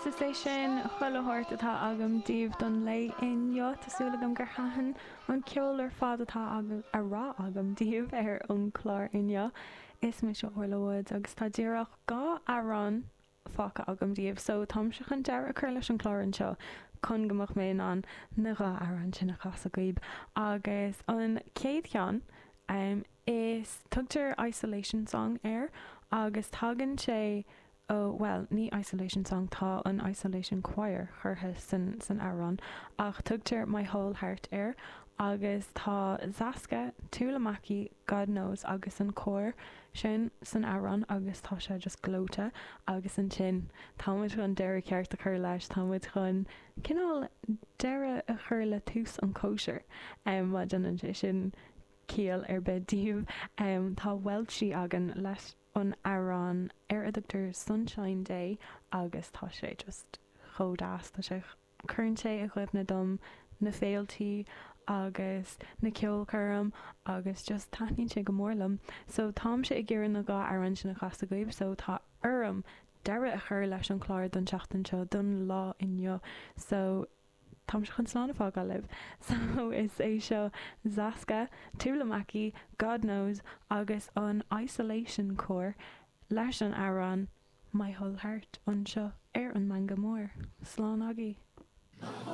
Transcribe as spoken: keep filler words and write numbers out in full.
Agus is é sin chuile shórt atá agam daoibh don lae inniu Tá súil agam gur thaitin an ceol ar fad atá a rá agam daoibh ar an chlár inniu. Is mise Orla Woods agus tá díreach dhá amhrán fágtha agam daoibh, so táimse chun deireadh a chur leis an chlár anseo chun go mbeadh mé in ann na dhá amhrán sin a chasadh daoibh. Agus an chéad cheann um, is tugtar Isolation Song air agus tagann sé ó well ní Isolation Song tá an Isolation Choir curtha san san amhrán ach tugtar My Whole Heart air agus tá Zaska, Tuulamaki, God knows agus an cór sin san amhrán agus tá sé just gleoite agus ansin táimid chun deireadh ceart a chur leis táimid chun cineál deireadh a chur le tús an cóisir um, má dhéanann sé sin ciall ar bith daoibh um, tá Welshie againn leis an amhrán ar a dtugtar Sunshine Day agus tá sé just chomh deas tá sé cuireann sé i gcuimhne dom na féiltí agus na ceolchoirm agus just taitníonn sé go mór liom. So táimse ag iarraidh na dhá amhrán sin a chasadh daoibh, so tá orm deireadh a chur leis an chlár don seachtain seo don lá inniu. So táimse chun slán a fhágáil libh. So is é seo Zaska, Tuulamaki, God knows agus an Isolation Choir leis an amhrán My Whole Heart anseo ar an Meangadh Mór. Slán agaibh.